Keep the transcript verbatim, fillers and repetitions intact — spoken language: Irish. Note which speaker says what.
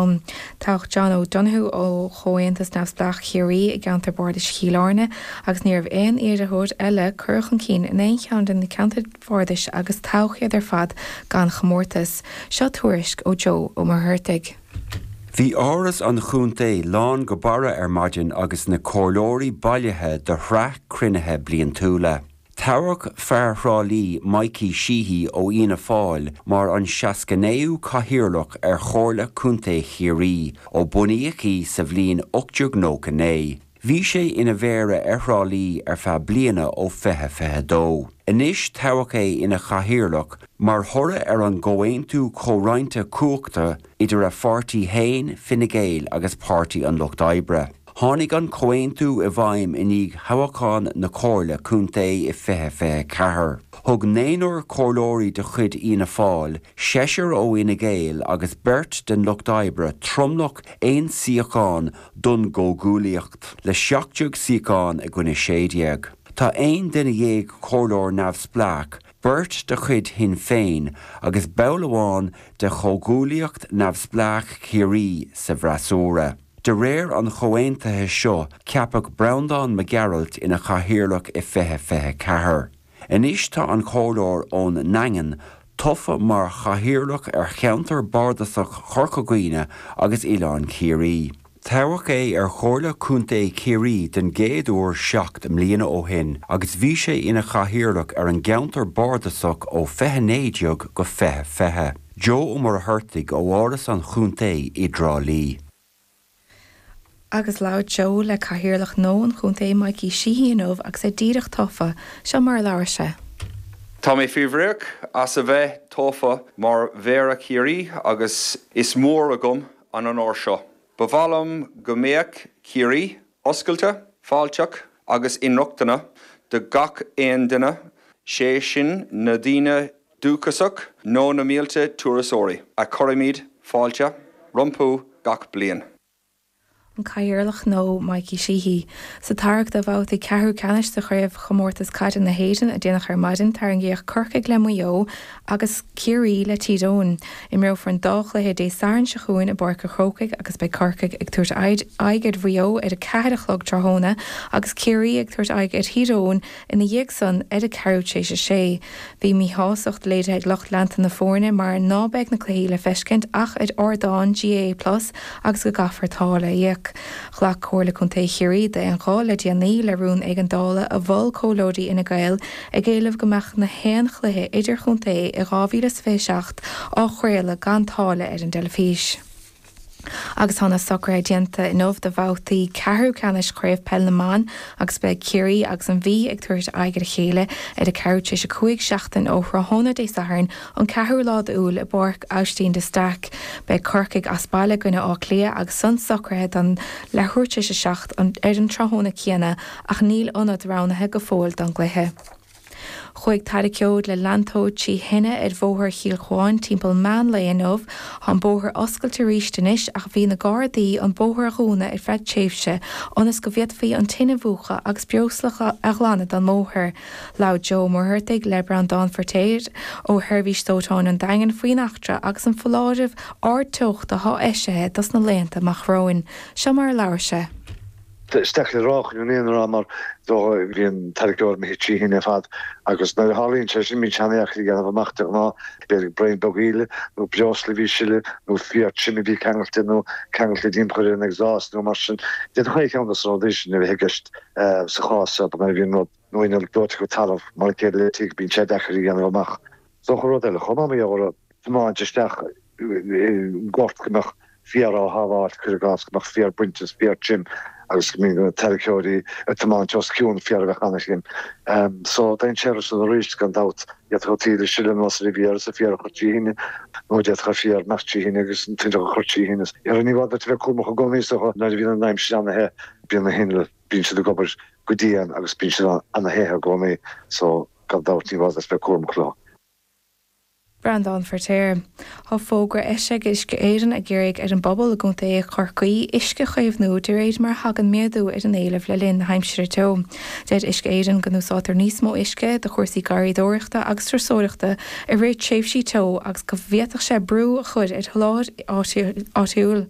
Speaker 1: ann. Toghadh John O'Donoghue ó Chomhaontas Neamhspleách Chiarraí i gceantar bardais Chill Airne agus ní raibh aon iarrthóir eile curtha chun cinn in aon cheann de na ceantair bhardais agus toghadh iad ar fad gan chomórtas. Seo tuairisc ó Joe Ó Muircheartaigh.
Speaker 2: Bhí áras an chontae lán go barra ar maidin agus na comhairleoirí bailithe do shraith cruinnithe bliantúla. Toghadh fear Thrá Lí Mikey Sheehy ó Fhianna Fáil mar an seasca naoú cathaoirleach ar Chomhairle Contae Chiarraí ó bunaíodh í sa bhliain ocht déag nócha naoi. Bhí sé ina mhéara ar Thrá Lí ar feadh bliana ó fiche fiche dó. Anois toghadh é ina chathaoirleach mar thoradh ar an gcomhaontú comhroinnte cumhachta idir a pháirtí féin Fine Gael agus Páirtí an Lucht Oibre. Tháinig an comhaontú i bhfeidhm i ndiaidh thoghchán na Comhairle Contae i fiche fiche ceathair. Thug naonúr comhairleoirí de chuid Fhianna Fáil, seisear ó Fhine Gael agus beirt den Lucht Oibre tromlach aon suíochán don gcomhghuaillíocht, le seacht déag suíochán i gcoinne sé déag. Tá aon duine dhéag comhairleoir neamhspleách, beirt de chuid Shinn Féin agus ball amháin de chomhghuaillíocht neamhspleách Chiarraí sa bhfreasúra. De réir an chomhaontaithe seo ceapadh Breandán Mac Gearailt ina chathaoirleach i fiche fiche ceathair. Anois tá an comhairleoir ón nDaingean tofa mar chathaoirleach ar cheantar bardasach Chorca Dhuibhne agus Oileán Ciarraí. Toghadh é ar Chomhairle Contae Chiarraí den gcéad uair seacht mbliana ó shin agus bhí sé ina chathaoirleach ar an gceantar bardasach ó fiche naoi déag go fiche fiche. Joe Ó Muircheartaigh ó Áras an Chontae i dTrá Lí.
Speaker 1: Agus labhair Joe le cathaoirleach nua an chontae Mikey Sheehy inniu agus é díreach tofa, seo mar a labhair sé.
Speaker 3: Tá mé fíorbhuíoch as a bheith tofa mar Mhéara Chiarraí agus is mór agam an onóir seo. Ba mhaith liom go mbeadh Ciarraí oscailte, fáilteach agus inrochtana do gach aon duine, sé sin na daoine dúchasach nó na mílte turasóirí a chuirimid fáilte rompu gach bliain.
Speaker 1: An cathaoirleach nua Mikey Sheehy. Sa tarrac do bhabhtaí ceathrú ceannais de chraobhchomórtas caide na hÉireann a déanadh ar maidin tarraingíodh Corcaigh le Maigh Eo agus Ciarraí le Tír Eoghain. Imreofar an dá chluiche Dé Sathairn seo chugainn i bPáirc an Chrócaigh agus beidh Corcaigh ag tabhairt aghaidh ar Mhaigh Eo ar a ceathair a chlog tráthnóna agus Ciarraí ag tabhairt aghaidh ar Thír Eoghain ina dhiaidh san ar a ceathrú tar éis a sé. Bhí míshástacht léirithe ag lucht leanta na foirne mar ná beidh na cluichí le feiscint ach ar ardán GAA Plus agus go gcaithfear táille a íoc. Ghlac Comhairle Contae Chiarraí d'aon ghuth le déanaí le rún éigeandála a mhol comhairleoirí Fhine Gael ag éileamh go mbeadh na haon chluiche idirchontae i dhá mhíle is fiche seacht á chraoladh gan táille ar an dteilifís. Agus tá na socruithe déanta inniu do bhabhtaí ceathrú ceannais chraobh peil na mban agus beidh Ciarraí agus an Mhí ag tabhairt aghaidh ar a chéile ar a ceathrú tar éis a cúig seachtain ó thráthnóna Dé Sathairn an ceathrú lá d'Iúil i bPáirc Aibhistín de Staic. Beidh Corcaigh as baile i gcoinne Átha Cliath agus san socraithe don leathuair tar éis a seacht ar an tráthnóna céanna ach níl ionad roghnaithe go fóill don gcluiche. Chuaigh tarraiceoir le leantóir trí thine ar bhóthar Chill Chuáin timpeall meán lae inniu, Tá an bóthar oscailte arís anois ach bhí na Gardaí an bóthar a dhúnadh ar feadh tréimhse ionas go bhféadfaí an tine a mhúchadh agus breosla a ghlanadh den mbóthar. Labhair Joe Ó Muircheartaigh le Breandán Feirtéar ó Sheirbhís Dóiteáin an Daingin faoin eachtra agus an foláireamh ardteochta atá eisithe dos na laethanta amach romhainn. Seo mar a labhair sé.
Speaker 4: Is deacair a rá chun an fhírinne a rá mar bhí an tarraiceoir imithe trí thine ar fad agus nuair a tharlaíonn sé sin bíonn sé an-deacair a dhéanamh amach de ghnáth, b'fhéidir braon beag íle nó breosla a bhí ag sileadh nó fiar tirim a bhí ceangailte nó ceangailte timpeall ar an exhaust nó mar sin. D'fhéadfadh aon cheann de na rudaí sin a bheith i gceist sa chás seo nuair a bhíonn rud nó inneall dóite go talamh mar a chéile le tigh bíonn sé deacair a dhéanamh amach. Is dócha rud eile chomh maith mar gheall ar tiomáint isteach i ngort go mbeadh féar á shábháilt, cuir i gcás, go mbeadh féar bainte is féar tirim agus go mbíonn na tarraiceoirí ag tiomáint os cionn féar a bheadh an-thirim. So, dainséarach san arís, gan dabht. D'fhéadfadh an t-íle a sileadh anuas ar an bhféar is an féar a chur trí thine, nó d'fhéadfadh an féar imeacht trí thine agus an t-inneall a chur trí thine. Ní gá duit a bheith cúramach i gcónaí, is dócha, nuair a bhíonn an aimsir an-the, bíonn na hinnill, bíonn siad ag obair go dian agus bíonn siad an-the i gcónaí. So, gan dabht, ní gá duit a bheith cúramach leo.
Speaker 1: Breandán Feirtéar. Tá fógra eisithe ag Uisce Éireann ag iarraidh ar an bpobal i gContae Chorcaí uisce a chaomhnú de réir mar a thagann méadú ar an éileamh le linn na haimsire teo. Deir Uisce Éireann go n-úsáidtear níos mó uisce do chúrsaí garraíodóireachta agus turasóireachta i rith tréimhsí teo agus go bhféadfadh sé brú a chur ar sholáthar áitiúil.